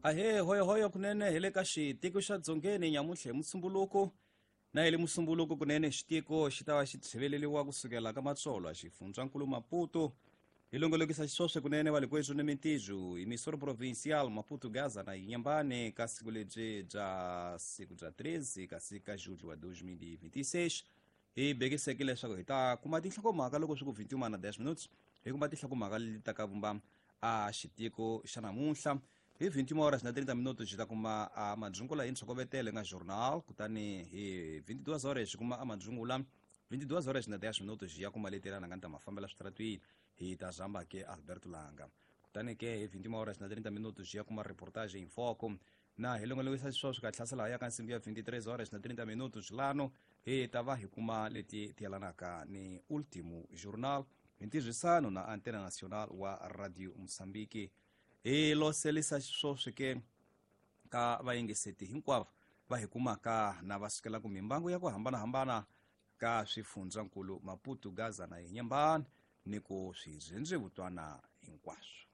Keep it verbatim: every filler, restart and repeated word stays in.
Ahee, hoyohoyo kunene hi le ka xitiko xa Dzongeni nyamuntlha hi Musumbuluko. Na hi le Musumbuluko kunene xitiko xi ta va xi tshiveleriwa kusukela ka Matsolo xifundzankulu Maputo. Hi longolokisa xiswoswe kunene va le kwethu ni mintijo emissora provincial Maputo Gaza na Inhambane ka siku lebyi bya siku bya treze kasi ka julho wa dois mil e vinte e seis. Hi bekiseke leswaku hi ta kuma tinhlokomhaka loko swi ku vinte e uma na dez minutos, hi kuma tinhlokomhaka leti ta ka vumba a xitiko xa namuntlha. Hi vinte e uma horas na trinta minutos hi ta kuma a madzungula hi ntshokovetelo nga journal, kutani hi vinte e duas horas hi kuma a madzungula vinte e duas horas na dez minutos hi ya kuma leti lana nga ni ta mafambela switaratwini hi ta zamba ke Alberto Langa. Kutani ke hi vinte e uma horas na trinta minutos hi ya kuma reportage em foco. Na hi longolokisa xisweswo ka hlasela ya ka nsimbi ya vinte e três horas na trinta minutos lano hi ta va hi kuma leti ti yelanaka ni Ultimo Jornal hi ntirhisano na Antena Nacional wa Radio Moçambique. Hi loselisa xisweswo ke ka vayingiseti hinkwavo va hi kumaka na va sukelaka mimbangu ya ku hambanahambana ka swifundzankulu Maputo, Gaza na Inhambane ni ku swidzhendzevutwana hinkwaswo.